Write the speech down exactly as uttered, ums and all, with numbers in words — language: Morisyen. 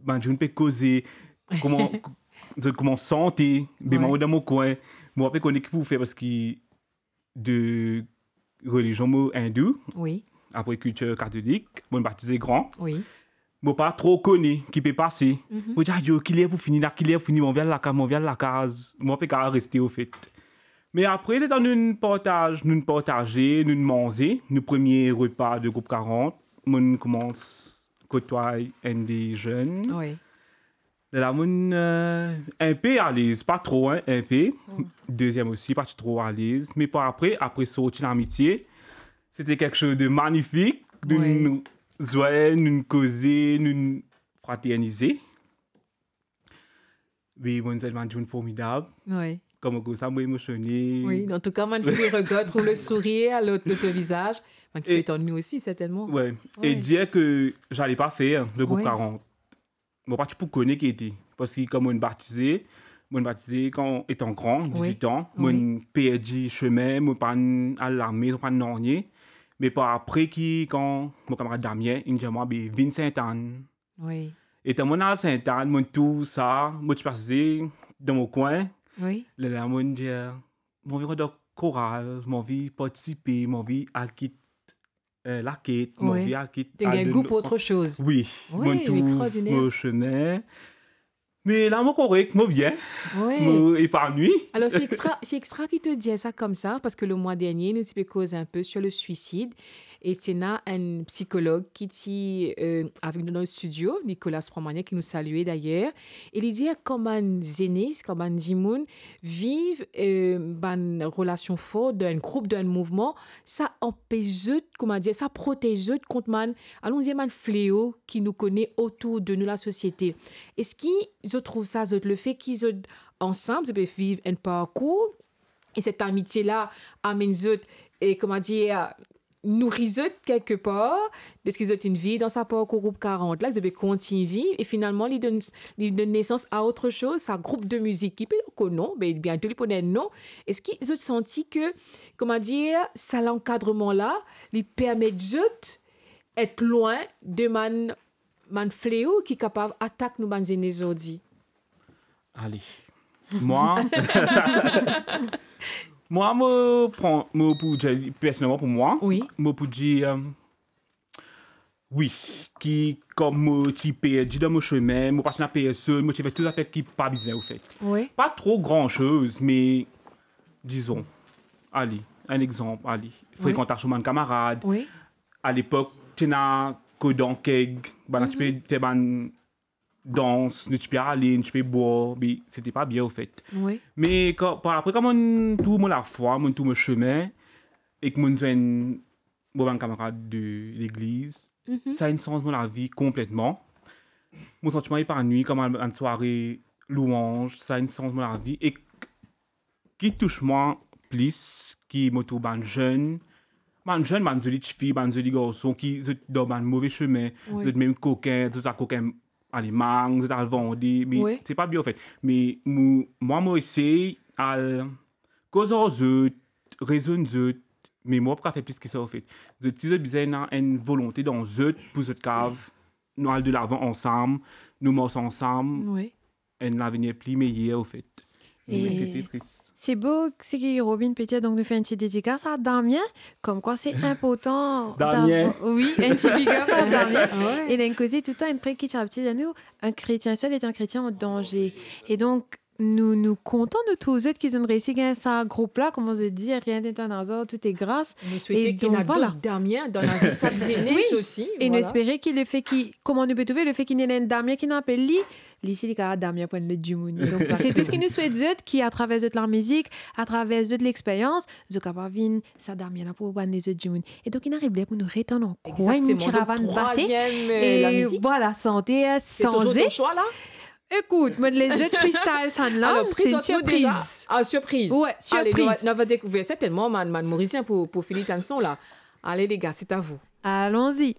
bann dimoun pe koze, kouma, zot koumans sante, be, mwa, dan mo kwin, mo pa pe kone ki pou fer, parski de relizion mo indou, wi, apre kiltir katolik, mo batize gran. Wi. Mo pa tro kone ki pe pase. Mhm. Mo dir, "Ayo, ki ler pou fini la, ki ler pou fini, mo anvi al lakaz, mo anvi al lakaz." Mo pa pe kapav reste, ofet. Me apre, letan nou'nn partaz, nou'nn partaze, nou'nn manze, nou premie repa de group karant, mo'nn koumans kotway enn de zenn. Wi. Lerla mo'nn, euh, inpe alez, pa tro, hein, inpe. Mm. Deziem osi, pa ti tro alez. Me par apre, apre sorti Lamitie, sete kiksoz de manifik. Wi. Nou'nn zwe, nou'nn koze, nou'nn fraternize. Wi, mo'nn zwenn bann dimoun formidab. Wi. Kouma koumsa, mo emosione. Wi, antouka, bann ki regard, trouv le sourir a lot, lot vizaz. Bann ki pe tann nou osi, sertennman. Wi. Wi. E dir ke j'allais pas faire le groupe, wi, karant. Mo pa ti pou kone ki ete. Parski kan mo'nn batize, mo'nn batize kan etan gran, wi, dizuit an, wi, mo'nn perdi sime, mo pa'nn al lame, mo pa'nn nanye. Me par apre ki, kan mo kamarad Damien, inn dir mwa, "Be, vinn Sint-Ann." Wi. Etan mo'nn al Sint-Ann, mo'nn trouv sa, mo ti pase dan mo kwin. Wi. Lerla mo'nn dir, "Mo anvi rant dan koral, mo anvi partisipe, mo anvi al kit, euh, laket, mo, wi, anvi al kit, to gagn gou pou otresoz." Wi, wi, mo'nn trouv, extraordiner, mo sime. Me la, mo korek, mo bien, wi, mo epanwi. Alor, c'est extra, c'est extra ki to dir sa koumsa, parski le mwa dernie, nou ti pe koz inpe sur le suicide. E ti ena enn psikolog ki ti, euh, avek nou dan studio, Nicolas Promanier, ki nou salie dayer. E li dir, kan bann zenes, kan bann dimoun viv, euh, bann relasion for dan enn group, dan enn mouvman, sa anpes zot, kouma dir, sa protez zot kont bann, alon dir, bann fleo ki nou kone otour de nou, lasosiete. Eski zot trouv sa, zot, lefe ki zot ansam, zot pe viv enn parkour, e set amitie la amenn zot, e, kouma dir, nouri zot kelkepar, deski zot inn viv dan sa parkour group karant la, zot pe kontign viv, e finalman, li donn, li donn nesans a otresoz, sa group de mizik ki pe ankor non, be, biento li pou ena enn non. Eski zot santi ke, kouma dir, sa lankadreman la, li permet zot et lwin de bann, bann fleo ki kapav atak nou bann zenes zordi? Ale. Mwa, mwa, mo pran, mo pou dir, personelman pou mwa, wi, mo pou dir, euh, wi, ki kom mo ti perdi dan mo sime, mo pa ti ena personn, mo ti fer tou zafer ki pa bizin, ofet. Wi. Pa tro gran soz, me, dizon, ale, enn exanp, ale, wi, frekantasion bann kamarad. Wi. A lepok, ti ena kodan keg, bann ti pe, mhm, fer bann dans, nou ti pe ale, nou ti pe bwar, me sete pa bien, ofet. Wi. Me kan, par apre, kan mo'nn trouv mo lafwa, mo'nn trouv mo sime, ek mo'nn zwenn mo bann kamarad de legliz, mhm, sa inn sanz mo lavi konpletman. Mo santi mwa epanwi, kan mo al bann sware lwanz, sa inn sanz mo lavi. Ek ki tous mwa plis, ki mo trouv bann zenn, bann zenn, bann zoli tifi, bann zoli garson, ki zot dan bann move sime, wi, zot mem kokin, zot al kokin Alemagn, zot al vande, me, wi, se pa bien, ofet. Me mo, mwa, mo esey al koz ar zot, rezonn zot, me mo pa kapav fer plis ki sa, ofet. Zot, si zot bizin ena enn volonte dan zot pou zot kapav, nou al delavan ansam, nou mars ansam, wi, enn lavenir pli meyer, ofet. Me, e, sete tris. Se bo seki Robin pe dir, donk nou fer enn ti dedikas a Damien, komkwa se inportan, Damien, dav-, wi, enn ti big up a Damien. Wi. E li inn koze toultan enn prik ki ti abitie dir nou, un chrétien seul est un chrétien en danger. E donk, nou, nou kontan nou trouv zot ki zot inn reisi gagn sa group la, kouma zot dir, rien n'est un hasard, tout est grâce. Nou swete ki ena, donk, vwala, dot Damien dan lavi sak zenes osi, wi, e nou, vwala, espere ki lefe ki, kouma nou pe trouve, lefe ki ena enn Damien ki inn apel li, li si li kapav Damien pou enn lot dimoun. Donk, se tou seki nou swet zot, ki atraver zot lamizik, atraver zot lexperyans, zot kapav vinn sa Damien la pou bann lezot dimoun. E donk, inn ariv ler pou nou retann ankor enn ti ravann bate. Egzakteman. Donk, trwaziem, euh, lamizik. E vwala, sante, euh, sanze. Se touzour to swa la? Ekout, mo les zot freestyle sa la, alor, se enn sirpriz. Prezant nou deza. Ah, sirpriz. Wi, sirpriz. Ale, nou va, nou va dekouver sertennman bann, bann Morisien pou, pou fini tann son la. Ale, les gars, c'est à vous. Allons-y.